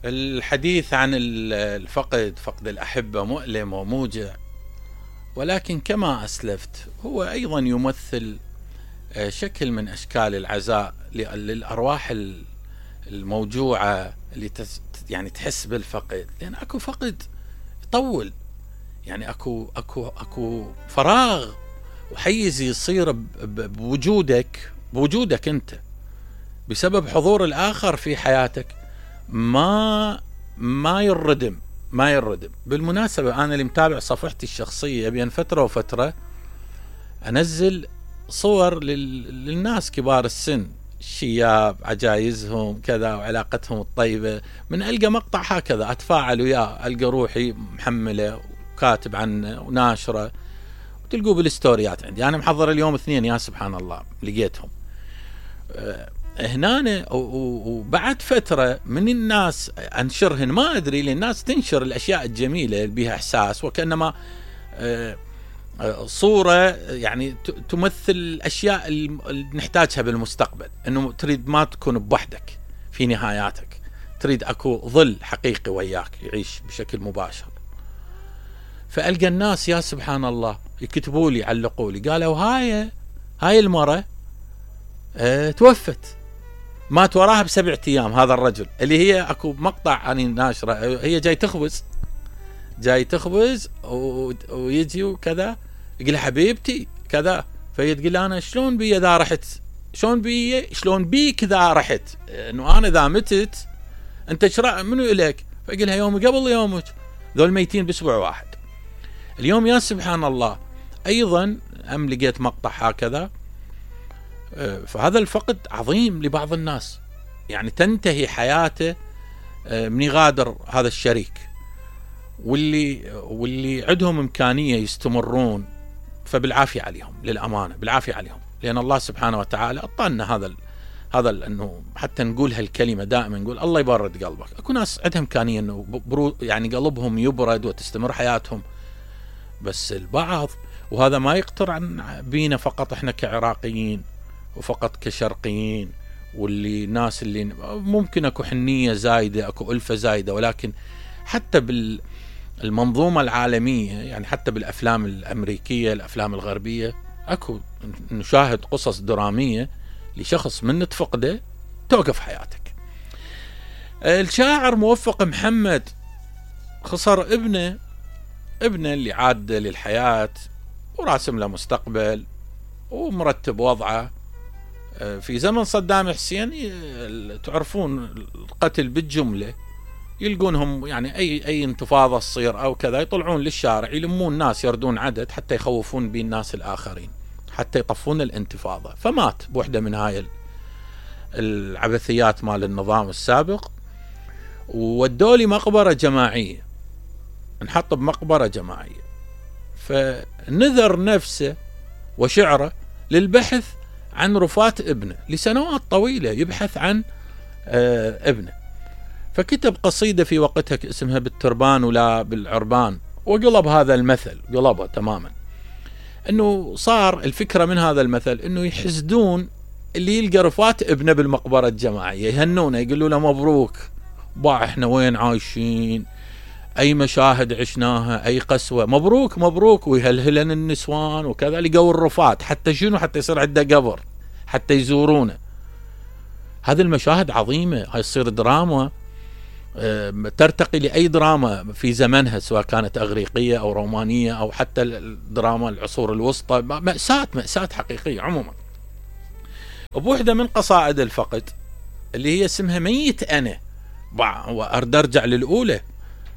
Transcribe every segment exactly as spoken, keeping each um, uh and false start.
الحديث عن الفقد فقد الأحبة مؤلم وموجع، ولكن كما أسلفت هو أيضا يمثل شكل من أشكال العزاء للأرواح الموجوعة اللي يعني تحس بالفقد، لأن أكو فقد يطول، يعني أكو أكو أكو فراغ وحيز يصير بوجودك بوجودك أنت بسبب حضور الآخر في حياتك، ما ما يردم ما يردم. بالمناسبة أنا اللي متابع صفحتي الشخصية بين فترة وفترة أنزل صور للناس كبار السن، الشياب، عجايزهم كذا وعلاقتهم الطيبة، من ألقى مقطع هكذا أتفاعل وياه، ألقى روحي محملة وكاتب عنه وناشرة وتلقوا بالستوريات عندي. أنا محضر اليوم اثنين، يا سبحان الله لقيتهم هنا. وبعد فترة من الناس أنشرهن، ما أدري، للناس تنشر الأشياء الجميلة اللي بها إحساس، وكأنما صورة يعني تمثل الأشياء اللي نحتاجها بالمستقبل، أنه تريد ما تكون بوحدك في نهاياتك، تريد أكو ظل حقيقي وياك يعيش بشكل مباشر. فألقى الناس يا سبحان الله يكتبوا لي، علقوا لي، قالوا هاي هاي المرة اه توفت، مات وراها بسبعة أيام هذا الرجل، اللي هي أكو مقطع أنا ناشرة، هي جاي تخبز جاي تخبز ويجي وكذا، يقول حبيبتي كذا، فهي تقول أنا شلون بي ذا رحت، شلون بي شلون بيك ذا رحت، إنه أنا ذا متت أنت شرع منو إليك؟ فيقولها يوم قبل يومك، ذول ميتين بأسبوع واحد. اليوم يا سبحان الله أيضا أم لقيت مقطع هكذا. فهذا الفقد عظيم لبعض الناس، يعني تنتهي حياته من يغادر هذا الشريك، واللي واللي عندهم إمكانية يستمرون فبالعافية عليهم، للأمانة بالعافية عليهم، لأن الله سبحانه وتعالى أعطانا هذا ال هذا ال أنه حتى نقول هالكلمة دائما، نقول الله يبرد قلبك. أكو ناس عندها إمكانية أنه يعني قلبهم يبرد وتستمر حياتهم، بس البعض، وهذا ما يقتر عن بينا فقط إحنا كعراقيين وفقط كشرقيين، واللي ناس اللي ممكن أكو حنية زايدة، أكو ألفة زايدة، ولكن حتى بالمنظومة العالمية، يعني حتى بالأفلام الأمريكية، الأفلام الغربية، أكو نشاهد قصص درامية لشخص من تفقده توقف حياتك. الشاعر موفق محمد خسر ابنه ابنه اللي عاد للحياة وراسم له مستقبل ومرتب وضعه في زمن صدام حسين. تعرفون القتل بالجملة، يلقونهم يعني أي أي انتفاضة تصير أو كذا يطلعون للشارع يلمون ناس يردون عدد حتى يخوفون بين الناس الآخرين، حتى يطفون الانتفاضة. فمات بوحدة من هاي العبثيات مال النظام السابق، ودولي مقبرة جماعية، انحط بمقبرة جماعية. فنذر نفسه وشعره للبحث عن رفاة ابنه لسنوات طويلة، يبحث عن آه ابنه. فكتب قصيدة في وقتها اسمها بالتربان ولا بالعربان، وقلب هذا المثل، قلبه تماما. انه صار الفكرة من هذا المثل انه يحسدون اللي يلقى رفاة ابنه بالمقبرة الجماعية، يهنونه، يقولوا له مبروك باع، احنا وين عايشين، اي مشاهد عشناها، اي قسوة، مبروك مبروك، ويهلهلن النسوان وكذا، لقوا الرفات حتى شنو، حتى يصير عنده قبر حتى يزورونه. هذه المشاهد عظيمة، هاي تصير دراما ترتقي لأي دراما في زمنها، سواء كانت أغريقية أو رومانية أو حتى الدراما العصور الوسطى. مأساة مأساة حقيقية عموما. بوحدة من قصائد الفقد اللي هي اسمها ميت أنا، وأرد أرجع للأولى،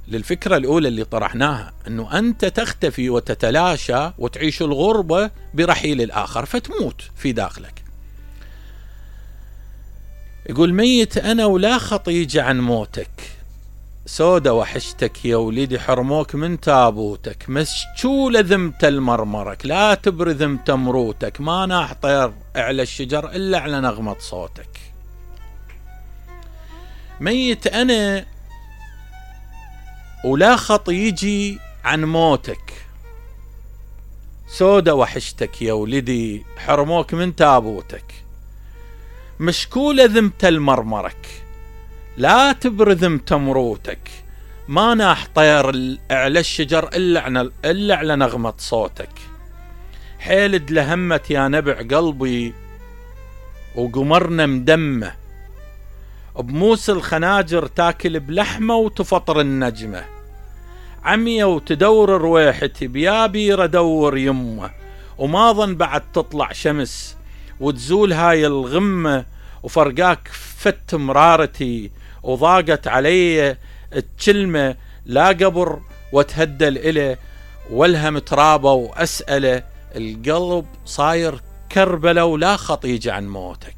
للفكرة الأولى اللي طرحناها، أنه أنت تختفي وتتلاشى وتعيش الغربة برحيل الآخر فتموت في داخلك. يقول ميت أنا ولا خطيج عن موتك، سودة وحشتك يا وليدي حرموك من تابوتك، مسجولة ذمت المرمرك لا تبرذم تمروتك، ما ناح طير اعلى الشجر إلا على نغمة صوتك. ميت أنا ولا خطيجي عن موتك، سودة وحشتك يا ولدي حرموك من تابوتك، مشكولة ذمت المرمرك لا تبرذم تمروتك، ما ناح طير على الشجر إلا, إلا على نغمة صوتك. حيلد لهمت يا نبع قلبي وقمرنا مدمه، بموس الخناجر تاكل بلحمة وتفطر النجمة. عمية وتدور رويحتي بيابير ادور يمه، وما ظن بعد تطلع شمس وتزول هاي الغمة، وفرقاك فت مرارتي وضاقت علي الكلمة. لا قبر واتهدل إله والهم ترابه وأسأله، القلب صاير كربلة ولا خطيج عن موتك.